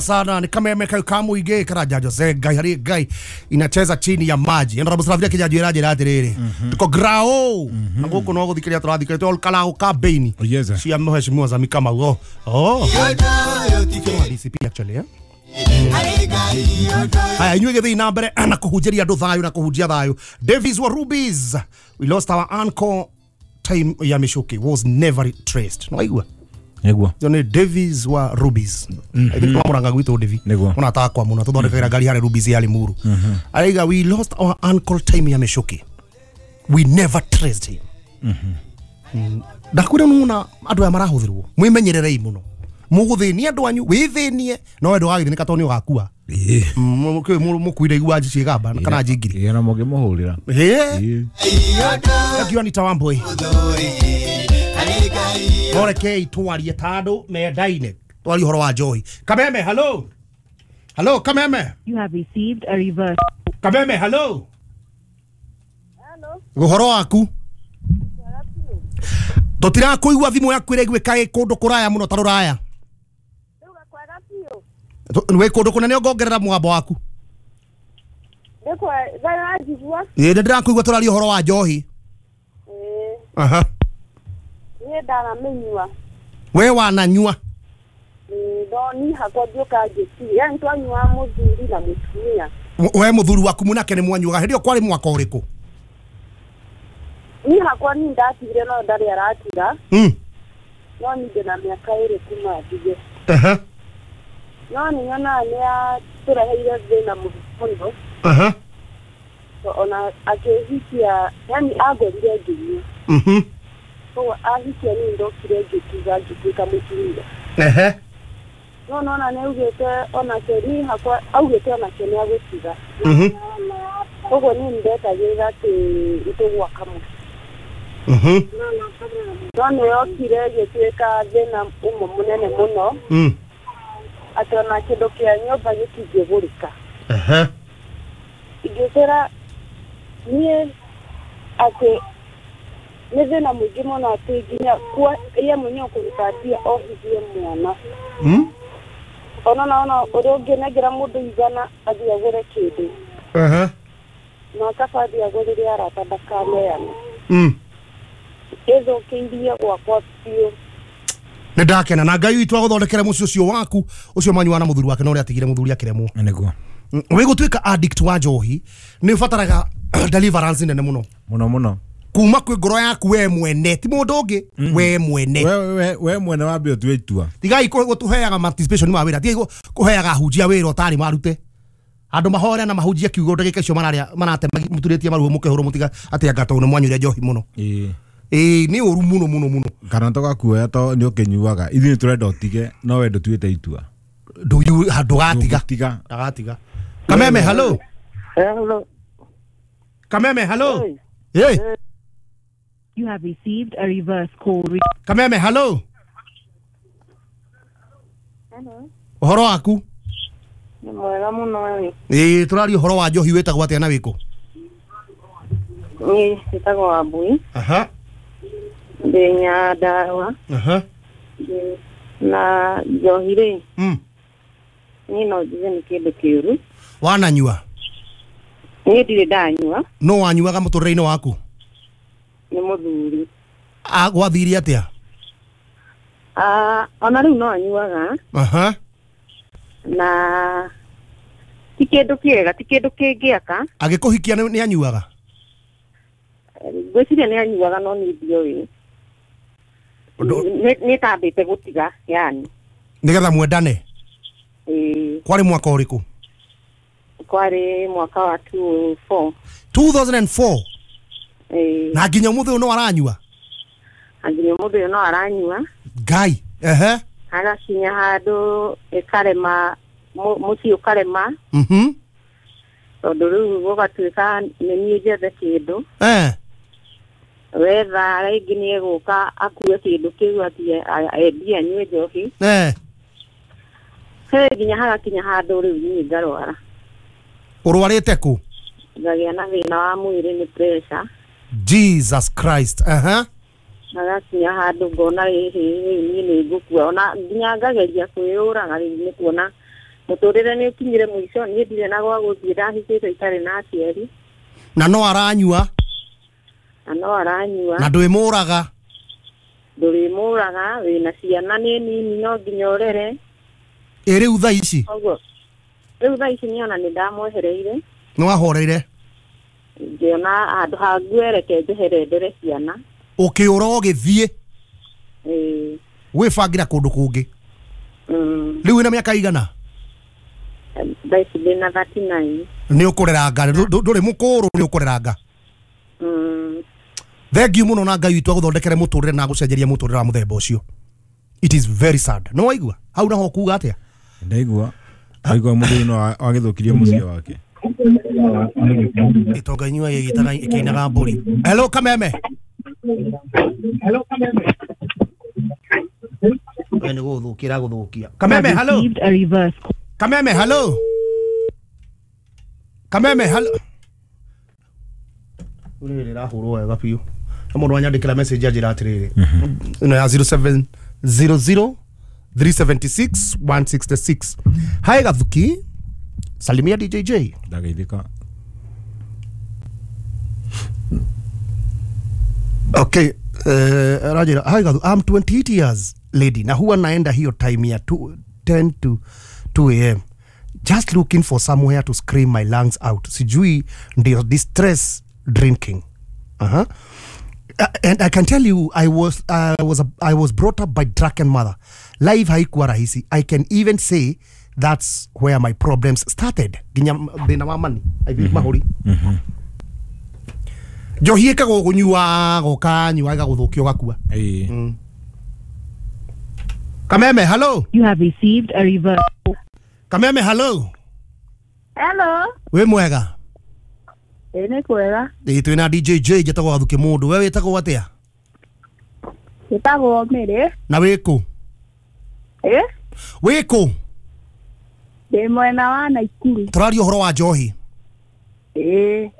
Sana ni kameme kau kamuige karaja Jose Ngai hari Ngai inacheza chini ya maji enda rabu kijaji iraje atiriri tuko grao na guku no guthikiria turathikire to kalao ka beini cia mheshimiwa Zami Kamau oh DCP actually haya inyuĩ gĩthiĩ na mbere na kũhunjĩria andũ thayũ na kũhunjia thayũ. Davis wa Rubies, we lost our uncle time ya Michuki was never traced. No aigua niguo John Davis wa Rubies. I think twamuranga gwitwo Davi ona takwa muno tuthondekagĩra ngari harĩ Rubies ya Limuru. Araiga we lost our uncle time ya Michuki, we never traced him. Ndakwĩra nuna andũ aya marahũthĩrwo mwĩmenyererei mũno mũgũthĩnia andũ anyu wĩthĩnie no we ndũgagĩthĩnĩka tondũ nĩ ũgakua mũkuire igua ciĩgamba kana njingiri na mũngĩmũhũrĩra akiwa ni Tawamboi Orekei twarie tandũ mendaine twarie ũhoro wa njohi. Kameme hello hello Kameme, you have received a reverse. Kameme hello hello, ũhoro waku tũtirakuigua thimũ yaku ĩraiguĩka ĩ kũndũ kũraya mũno ta rũraya. Wĩ kũndũ kũnene ũngongerera mũgambo waku. Ĩ nĩ ndĩrakũigua tũraria ũhoro wa njohi. Aha. Niĩ ndaramĩnyua. We wananyua? No niĩ hakwa ngĩũka ngĩtiga, yani twanyuaga mũthuri na mũtumia. We mũthuri waku mũnake nĩ mwanyuaga hĩndĩ ĩyo kwarĩ mwaka ũrĩkũ? Niĩ hakwa niĩ ndatigire no ndarĩ aratiga. No niĩ ndĩna mĩaka ĩrĩ kuma ndige. Aha. No nĩ nyonaga nĩ atũreheire thĩna mũno. Aha. Ona akĩhikia, yani angorire ngĩnyua. Koguo ahikia niĩ ndokire ngĩtiga ngĩtuĩka mũtumia. Ehe. No nona nĩ augĩte onake niĩ hakwa augĩte onake nĩ agũtiga. Koguo niĩ nĩndetagĩrĩra atĩ nĩtũgwaka mũciĩ. No nĩ yokire ĩgĩtuĩka thĩna ũmwe mũnene mũno. Atĩ ona kĩndũ kĩa nyũmba gĩtingĩgũrĩka. Ehe. Ingĩkwĩra niĩ atĩ nĩ thĩna mũingĩ mũno atĩ nginya ye mwenyewe kũruta mbia ohithie mwana. Ona naona ũrĩa ũngĩnengera mũndũ igana athiĩ agũre kĩndũ. Ehe. Na kaba athiĩ agũrĩre arata ndakaneane. Ĩthũkĩirie gwakwa biũ. Nĩ ndakena na Ngai witũ agũthondekere mũciĩ ũcio waku ũcio manyuaga na mũthuri wake na ũrĩa atigire mũthuri akĩremwo. Nĩguo. Wĩ gũtuĩka addict wa njohi nĩ ũbataraga deliverance nene mũno mũno mũno kuma kwĩ ngoro yaku we mwene ti mũndũ ũngĩ we mwene we mwene wambe ũtue itua. Tigai gũtũheaga participation ma wĩra, tigai kũheaga ahunjia wĩra ũtarĩ marute andũ mahore na mahunjia kiugo ndagĩka icio mararia maratema mũturĩtie maruo mũkĩhũrwo mũtiga atĩ anga tondũ nĩ mwanyuire njohi mũno. Ĩĩ nĩ ũru mũno mũno mũno. Kana tũgakuoya to nĩ ũkĩnyuaga ithuĩ nĩ tũrenda ũtige no we ndũtuĩte itua ndũgatiga ndagatiga. Kameme hello hello Kameme hello. Hey. You have received a reverse call. Kameme hello. Hello. Ũhoro waku? Nĩ mwega mũno. Ĩĩ tũraria ũhoro wa njohi wĩtagwo atĩa na wĩkũ? Niĩ njĩtagwo Wambui. Aha. Ndĩ Nyandarũa. Aha. Na njohi rĩ, niĩ no njuge nĩ kĩndũ kĩũru. Wananyua? Niĩ ndirĩ ndanyua. No wanyuaga mũtũrĩre-inĩ waku? Nĩ mũthuri. Gwathire atĩa? Ona rĩu no anyuaga. Aha. Na ti kĩndũ kĩega, ti kĩndũ kĩngĩaka. Agĩkũhikia nĩ anyuaga? Ngwĩciria nĩ anyuaga no niĩ ndiũĩ. Nĩ tambĩte gũtiga yani. Nĩgetha mwendane? Ĩĩ. Kwarĩ mwaka ũrĩkũ? Kwarĩ mwaka wa 2004. 2004? Ĩĩ. Na nginya ũmũthĩ ũyũ no aranyua? Nginya ũmũthĩ ũyũ no aranyua. Ngai. Ehe. Hagakinya handũ ĩkarema mũciĩ ũkarema. Tondũ rĩu gũgatuĩka nĩ niĩ njethe kĩndũ. Wetha rĩngĩ nĩ egũka akue kĩndũ kĩu athiĩ endie anyue njohi. He nginya hagakinya handũ rĩu niĩ ngarwara. Ũrwarĩte kũ? Ngagĩa na thĩna wa mwĩrĩ nĩ pressure. Jesus Christ. Aha. Hagakinya handũ ngona ĩhĩ rĩu niĩ nĩ ngũkua ona nginya ngageria kwĩyũraga rĩu nĩ kuona Mũtũrĩre nĩ ũkinyire mũico niĩ ndirĩ na gwa gũthiĩ ndahikĩte itarĩ na aciari. Na no aranyua. Na no aranyua. Na ndwĩmũraga. Ndũrĩmũraga wĩna ciana nĩ nini no nginya ũrere. Ĩ rĩu thaa ici? Koguo rĩu thaa ici niĩ ona nĩ ndamwehereire. Nĩ wahoreire? Ngĩona handũ ha nguereke njehere ndere ciana. Ũkĩũra ũgĩthiĩ? Ĩĩ. Gwĩbangĩra kũndũ kũngĩ? Rĩu wĩna mĩaka igana? Thaa ici ndĩna 39. Nĩ ũkũreranga, ndũrĩ mũkũrũ nĩ ũkũreranga. Thank you mũno na Ngai witũ agũthondekere mũtũrĩre na agũcenjerie mũtũrĩre wa mũthemba ũcio. It is very sad. Nĩ waigua? Hau naho kuga atĩa? Ndaigua. Ndaigua mũthuri no agĩthũkirie mũciĩ wake. Itonga inyua ĩgĩtaga ĩkĩinaga mbũri. Hello Kameme. Hello Kameme. We nĩ gũgũthũkia gũthũkia. Kameme hello. A reverse. Kameme hello. Kameme hello. Rĩrĩ rĩrahũrwo wega biũ. Na mũndũ wanyandĩkĩra message anjĩra atĩrĩrĩ. Ĩno ya 0700 376 166. Hi Gathuki. Salimia DJJ. Ndageithĩka. Okay, Rajira, hi Gathu, I'm 28 years lady na huwa naenda hiyo time ya 10 to 2 am. Just looking for somewhere to scream my lungs out. Sijui ndio distress drinking. Uh-huh. And I can tell you I was brought up by drunken mother. Life haikuwa rahisi. I can even say that's where my problems started. Ginya thina wa money. I think mahuri. Njohi ĩkagwo kũnyua gũkanyua ĩgagũthũkia ũgakua. Kameme hello. You have received a reverse. Kameme hello. Hello. Wĩ mwega? Ĩ nĩ kwega. Ĩ twĩna DJJ njĩtagwo Gathuki mũndũ. We wĩtagwo atĩa? Njĩtagwo Mĩrĩ. Na wĩ kũ? Ĩ? Wĩ kũ? Ndĩ mwena wa Naikuru. Tũraria ũhoro wa njohi. Ĩ.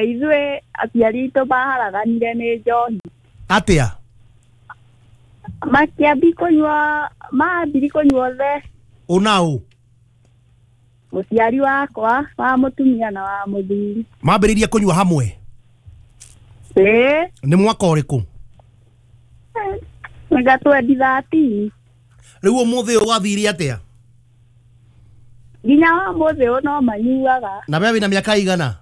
Ithuĩ aciari aitũ maharaganire nĩ njohi. Atĩa? Makĩambi kũnyua, mambiri kũnyua othe. Ũna ũ? Mũciari wakwa wa mũtumia na wa mũthuri. Mambĩrĩirie kũnyua hamwe? Ĩ. Nĩ mwaka ũrĩkũ? Nga 2013. Rĩu ũmũthĩ ũyũ wathire atĩa? Nginya ũmũthĩ ũyũ no manyuaga. Na we wĩna mĩaka igana?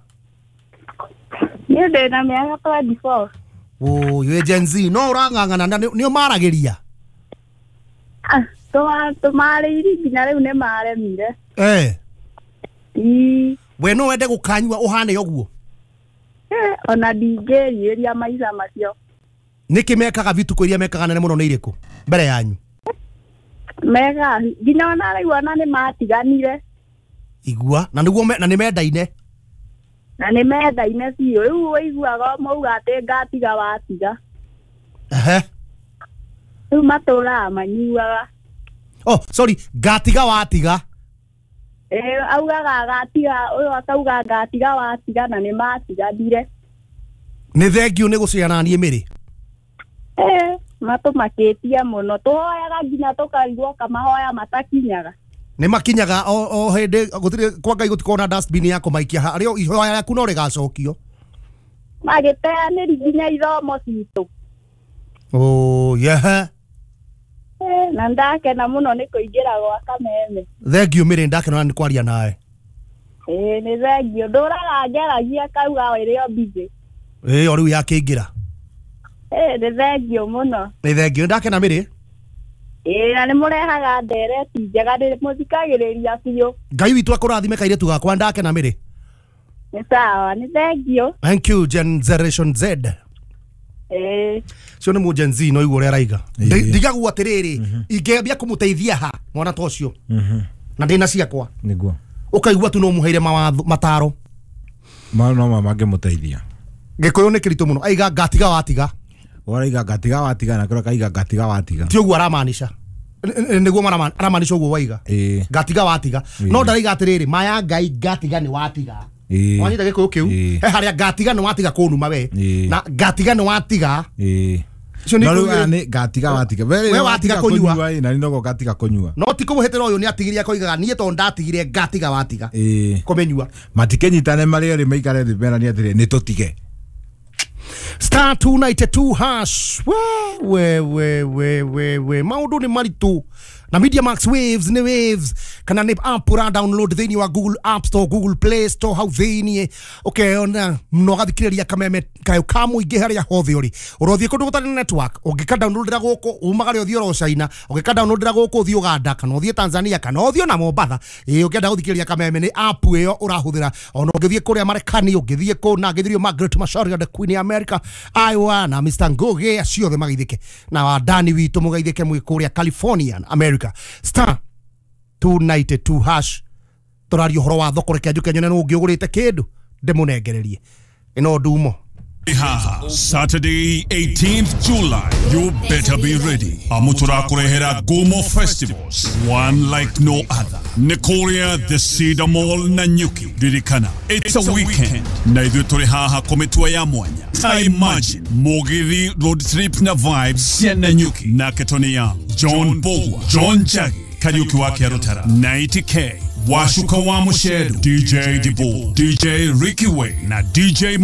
Niĩ ndĩna mĩaka 24. Wĩ Gen Z no ũrang'ang'ana na nĩ ũmaragĩria? Tũmarĩirie nginya rĩu nĩ maremire. We no wende gũkanyua ũhane ũguo? Ona ndingĩrirĩria maica macio. Nĩkĩ mekaga vituko iria mekaga nene mũno nĩ irĩkũ mbere yanyu? Mega nginya ona rĩu ona nĩ matiganire. Igua na nĩguo na nĩ mendaine. Na nĩ mendaine biũ. Rĩu ũiguaga mauga atĩ ngatiga watiga. Ehe. Rĩu matũraga manyuaga. Oh, sorry, ngatiga watiga. Augaga agatiga ũyũ akauga ngatiga watiga na nĩ matiganire. Nĩ thengiũ nĩ gũciana niĩ Mĩrĩ. Matũmakĩtie mũno. Tũhoyaga nginya tũkarigwo kamahoya matakinyaga. Nĩ makinyaga o hĩndĩ gũtirĩ kwa Ngai gũtikorwo na dustbin ya kũmaikia harĩa ihoya rĩaku no rĩgacokio. Magĩteanĩri nginya ithomo citũ. Oh, yeah. Na ndakena mũno nĩ kũingĩra gwa Kameme. Thengiũ Mĩrĩ, ndakena nĩ kwaria nawe. Nĩ thengiũ. Ndũraga ngeragia kauga ĩrĩ o busy. O rĩu yakĩingĩra. Nĩ thengiũ mũno. Nĩ thengiũ, ndakena Mĩrĩ. Na nĩ mũrehaga ndereti njega, nĩ mũthikagĩrĩria biũ. Ngai witũ akũrathime kairĩtu gakwa, ndakena Mĩrĩ. Nĩ sawa, nĩ thengiũ. Thank you Generation Z. Cio nĩ mũ Gen Z no igua ũrĩa araiga. Ndigagwo atĩrĩrĩ, ingĩambia kũmũteithia ha mwana ta ũcio. Na ndĩna ciakwa. Nĩguo. Ũkaigua tu no mũheire mawatho mataro. Ma no mangĩmũteithia. Gĩkũyũ nĩ kĩritũ mũno. Aiga ngatiga watiga. Waraiga ngatiga watiga na kĩrĩa kaiga ngatiga watiga. Ti ũguo aramaanisha. Nĩguo aramaanisha ũguo waiga. Ngatiga watiga. No ndaraiga atĩrĩrĩ, maya Ngai ngatiga nĩ watiga. Wanyita gĩkũyũ kĩu? He harĩa ngatiga nĩ watiga kũnuma we. Na ngatiga nĩ watiga. Icio nĩ No rĩu ikũgĩrĩ- aya nĩ ngatiga watiga. We watiga kũnyua. Ĩ, na nĩ noguo ngatiga kũnyua. No ti kũmũhĩtĩra ũyũ nĩ atigirie akoigaga niĩ tondũ ndatigire ngatiga watiga Ĩĩ. kũmĩnyua. Matikĩnyitane marĩ erĩ maikare thĩ merane atĩrĩ nĩ tũtige. Star 292 hash. We we we we we we maũndũ nĩ maritũ na Media Max Waves nĩ Waves kana nĩ app ũra download thĩinĩ wa Google App Store, Google Play Store hau thĩinĩ ũkeona na ũgathikĩrĩria kameme kayũ ka mũingĩ harĩa hothe ũrĩ. Ũrothiĩ kũndũ gũtarĩ na network, ũngĩka downloadĩra gũkũ umagare ũthiĩ oro China, ũngĩka downloadĩra gũkũ ũthiĩ Uganda kana ũthiĩ Tanzania kana ũthiĩ ona Mombatha, ĩĩ ũngĩenda gũthikĩrĩria kameme nĩ app ĩyo ũrahũthĩra. Ona ũngĩthiĩ kũrĩa Marekani, ũngĩthiĩ kũ na ngĩthirio Margaret Macharia the Queen ya America, Iowa na Mr Ngugi acio othe magaithĩke na wandani witũ mũgaithĩke mwĩ kũrĩa California America. Star 292 hash. Tũraria ũhoro wa thoko, reke njũke nyone nũ ũngĩ ũgũrĩte kĩndũ ndĩmũnengererie ĩno ndumo. Saturday, 18th July. You better be ready. Amutura kurehera Gumo Festivals, one like no other. Nikoria, the Cedar Mall, Nanyuki. Ririkana, it's a weekend. Na ithuĩ tũrĩ haha kũmĩtua ya mwanya. I imagine Mugithi road trip na vibes cia Nanyuki. Nake Tony Young, John Bogwa, John Jagi, Kariuki wa Kĩarũtara, 90K, Washuka wa Mushedu, DJ Dibu, DJ Ricky Way na DJ.